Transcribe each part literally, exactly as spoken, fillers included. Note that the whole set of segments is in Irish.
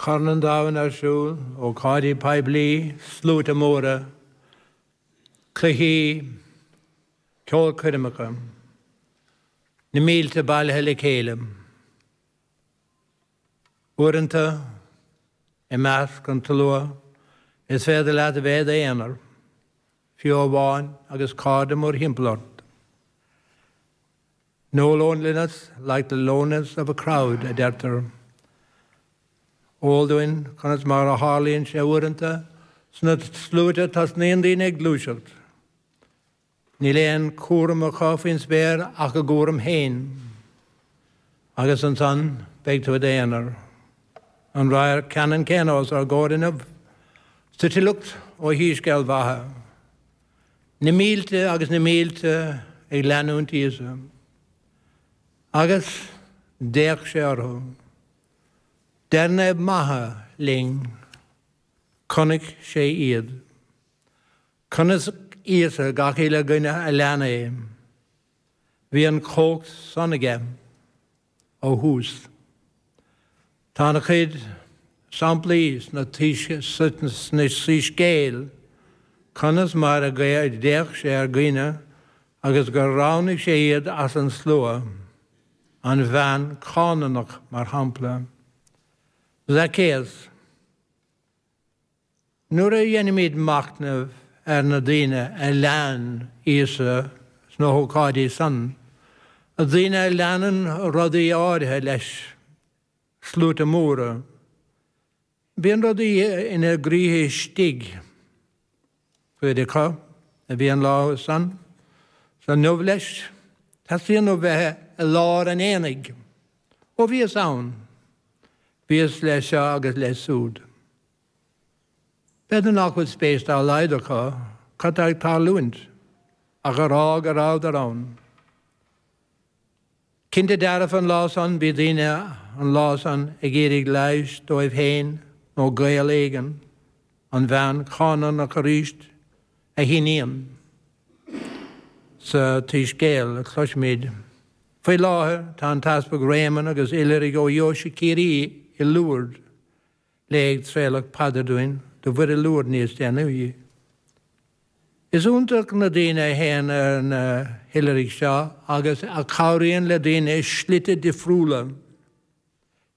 Corn an Domhain ar siúl, ócáidí poiblí, sluaite móra, cluichí, ceolchoirmeacha, na mílte bailithe le chéile. Uaireanta i measc an tslua is féidir leat a bheith i d'aonar, fiú amháin agus cairde mórthimpeall ort. No loneliness like the loneliness of a crowd, a deirtear. Eol dúinn conas mar a tharlaíonn sé uaireanta sna sluaite tosnaíonn daoine ag gluaiseacht. Níl aon chúram acu faoin spéir ach a gcúram féin. Agus ansan beidh tú i d'aonar. An radharc ceannann céanna os ár gcomhair inniu. Sa tsliocht ó Shoiscéal Mhatha. Na mílte agus na mílte ag leanúint Íosa. Agus d'fhéach sé orthu. Deir Naomh Matha linn, chonaic sé iad. Chonaic Íosa gach uile dhuine a lean é. Bhí an chumhacht san aige ó thús. Tá an-chuid samplaí sna soiscéil conas mar a d'fhéach sé ar dhaoine agus gur roghnaigh sé iad as an slua, an bhean Chánánach mar shampla. Zacchaeus. Nuair a dhéanaimid machnamh ar na daoine a lean Íosa sna hócáidí san, daoine a leanann rudaí áirithe leis, sluaite móra, bíonn rudaí ina gcroíthe istigh. Cuid acu a bhí an lá san, san inniu leis, teastaíonn ó bheith i lár an aonaigh. Ó bhíos ann, bhíos leis seo agus leis súd. B'fhéidir nach bhfuil spéis dá laghad acu cad tá ag tarlúint, ach a rá go rabhadar ann. Cinnte dearfa an lá san bhí daoine an lá san ag iarraidh leighis dóibh féin nó gaol éigin, an bhean Chánánach arís a hiníon sa tSoiscéal a chloisimid. Faoi láthair tá an tEaspag Réamonn agus oilithrigh ó Dheoise Chiarraí i Lourdes le ag treabhadh paidir dúinn do Mhuire Lourdes níos déanaí. Is iontach na daoine a théann ar na hoilithrigh seo agus a chabhraíonn le daoine i slite difriúla.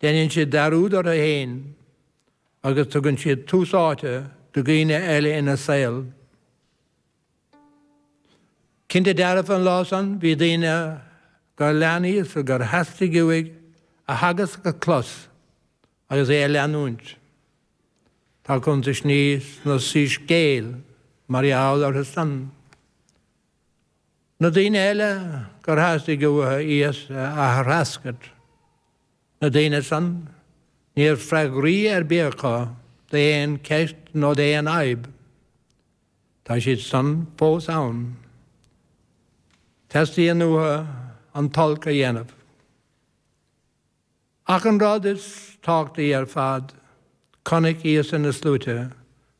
Déanann siad dearúd orthu féin agus tugann siad tús áite do dhaoine eile ina saol. Cinnte dearfa an lá san bhí daoine gur lean Íosa gur theastaigh uaidh a theagasc a chlos agus é a leanúint. Tá cuntais sna soiscéil mar gheall orthu san. Na daoine eile gur theastaigh uathu Íosa a threascairt. Na daoine san ní raibh freagraí ar bith acu d'aon cheist nó d'aon fhadhb. Tá siad san fós ann. Teastaíonn uathu an t-olc a dhéanamh. Ach an rud is tábhachtaí ar fad, chonaic Íosa na sluaite,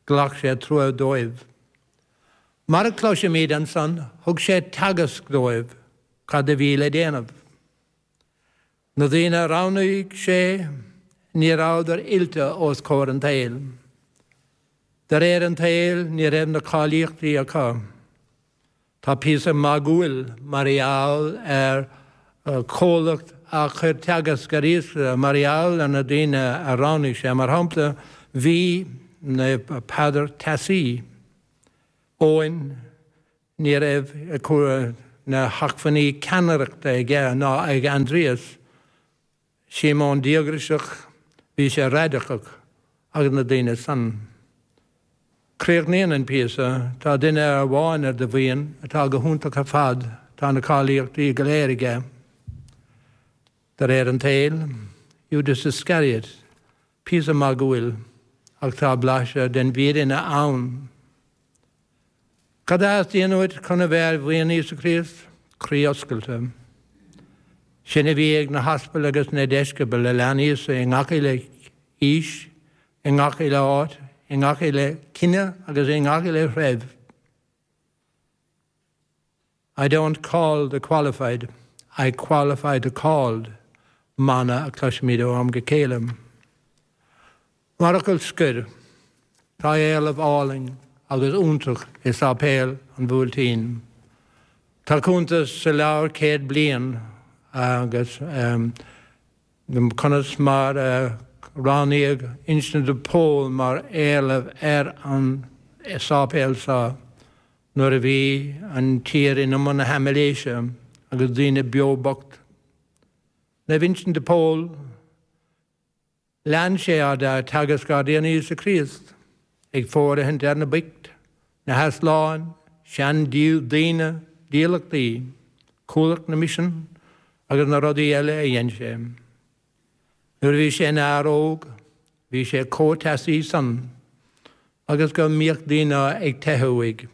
ghlac sé trua dóibh. Mar a chloisimid ansan, thug sé teagasc dóibh cad a bhí le déanamh. Na daoine a roghnaigh sé ní rabhadar oilte os comhair an tsaoil. De réir an tsaoil ní raibh na cáilíochtaí acu. Tá píosa magúil mar gheall ar chomhlacht a chuir teagasc ar Íosa mar gheall ar na daoine a roghnaigh sé. Mar shampla bhí Naomh Peadar teasaí. Eoin ní raibh na hacmhainní ceannaireachta aige ná ag Aindrias, Síomón díograiseach, bhí sé radacach agus na daoine san. Críochnaíonn an píosa, tá duine amháin ar do bhuíon atá go hiontach ar fad, tá na cáilíochtaí go léir aige. De réir an tsaoil, Judas Iscariot, píosa magúil ach tá blaiseadh den bhfírinne ann. Cad a theastaíonn uait chun a bheith ar bhuíon Íosa Críost? Croí oscailte. Sin a bhí ag na haspail agus na deisceabail a lean Íosa i ngach uile aois, i ngach uile áit, i ngach uile cine agus i ngach uile threibh. I don't call the qualified, I qualify the called, mana a chloisimid ó am go chéile. Mar fhocal scoir, tá éileamh álainn agus iontach i Sáipéal an Bhuailtín. Tá cuntas sa leabhar Céad Bliain agus conas mar a roghnaíodh Uinseann de Pól mar éileamh ar an sáipéal seo nuair a bhí an tír in umar na haimiléise agus daoine beo bocht. Naomh Uinseann de Pól, lean sé de teagasc ár dTiarna Íosa Críost, ag fóirithint ar na boicht, na heasláin, seandaoine, dílleachtaí, Cuallacht na Misean agus na rudaí eile a dhein sé. Nuair a bhí sé ina fhear óg, bhí sé chomh teasaí san agus go mbíodh daoine ag teitheadh uaidh.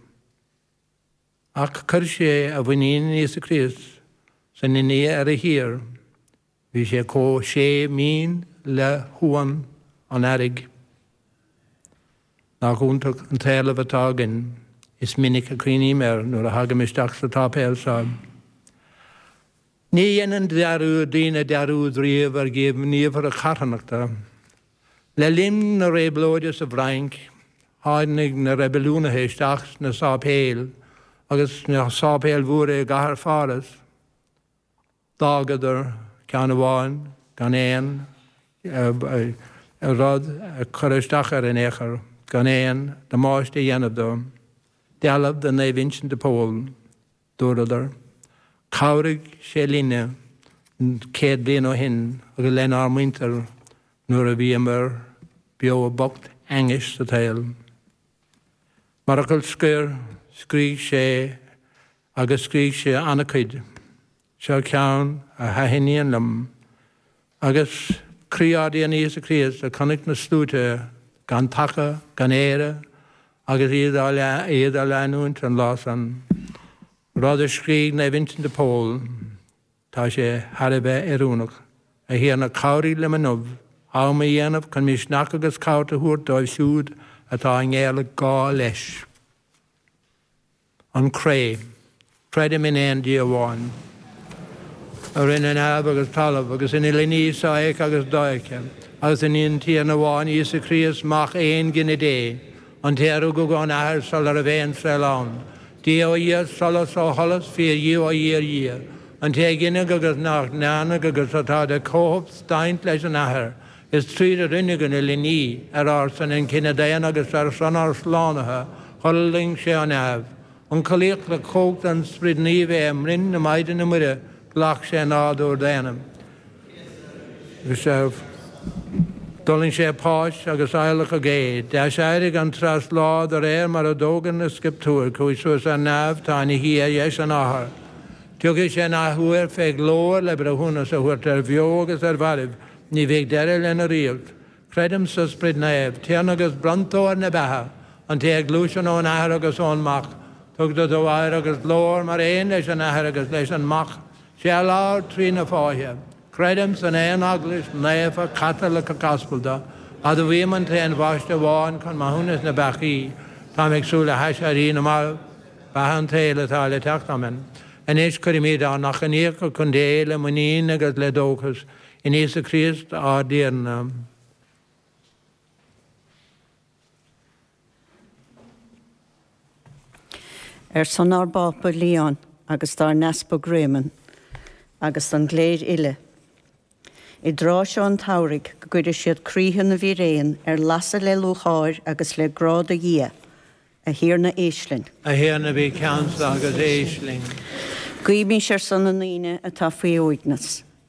Ach chuir sé a mhuinín in Íosa Críost 's ina nDia ar a thír. Bhí sé chomh séimh mín le huan an earraigh. Nach iontach an t-éarlamh atá againn. Is minic a chuimhním air nuair a thagaim isteach sa tsáipéal seo. Ní dhéanann daoine dearúd riamh ar ghníomhartha carthanachta. Le linn na réabhlóide sa bhFrainc, tháinig na reibiliúnaithe isteach sna sáipéil agus sna sáipéil mhóra i gcathair Pháras. D'fhágadar ceann amháin gan aon rud a chur isteach air in aon chor, gan aon damáiste a dhéanamh dó. Dealbh de Naomh Uinseann de Pól, dúradar. Chabhraigh sé linne céad bliain ó shin agus lenár muintir nuair a bhíomar beo bocht ainnis sa tsaol. Mar fhocal scoir, scrígh sé agus scrígh sé an-chuid. Seo ceann a thaitníonn liom. Agus croí ár dTiarna Íosa Críost a chonaic na sluaite gan taca, gan aire, agus iad iad á leanúint an lá san. Rud a scrígh Naomh Uinseann de Pól, tá sé thar a bheith oiriúnach. A Thiarna cabhraigh liom inniu, am a dhéanamh chun misneach agus cabhair a thabhairt dóibh siúd atá i ngéarghá leis. An Cré. Creidim in aon Dia amháin, a rinne neamh agus talamh, agus ina uile ní sofheicthe agus dofheicthe, agus in aon Tiarna amháin, Íosa Críost, Mac aongine Dé, an té a rugadh ón Athair sula raibh aon saol ann, Dia ó Dhia, solas ó sholas, fíor-Dhia ó fhíor-Dhia, an té a gineadh agus nach ndearnadh agus atá de chomhshubstaint leis an Athair, is tríd a rinneadh an uile ní, ar ár son an cine daonna agus ar son ár slánaithe, thuirling sé ó neamh. Ionchollaíodh le cumhacht an Sprid Naoimh é i mbroinn na Maighdine Muire, ghlac sé nádúr daonna. Agus d'fhulaing sé páis agus adhlacadh é. D'aiséirigh an treas lá de réir mar a d'fhógair na Scrioptúir, chuaigh suas ar neamh, tá ina shuí ar dheis an Athar. Tiocfaidh sé in athuair fé ghlóir le breithiúnas a thabhairt ar bheo agus ar mhairbh, ní bheidh deireadh lena ríocht. Creidim sa Sprid Naomh, Tiarna agus bronntóir na beatha, an té a ghluaiseann ón Athair agus ón Mac, tugtar dó adhradh agus glóir mar aon leis an Athair agus leis an Mac, sé a labhair trí na fáithe. Creidim san aon Eaglais naofa Chaitliceach Aspalda, admhaím an t-aon bhaisteadh amháin chun maithiúnas na bpeacaí, táim ag súil le haiséirí na marbh, beatha an tsaoil atá le teacht. Amen. Anois cuirimid ár n-achainíocha chun Dé le muinín agus le dóchas in Íosa Críost ár dTiarna. Ar son ár bPápa Leon agus dár nEaspag Réamonn agus don gcléir uile, i dtráth seo an tsamhraidh go gcuire siad croíthe na bhfíréan ar lasadh le lúcháir agus le grá do Dhia, a Thiarna éist linn. A Thiarna bí ceansa agus éist linn. Guímis ar son na ndaoine atá faoi uaigneas.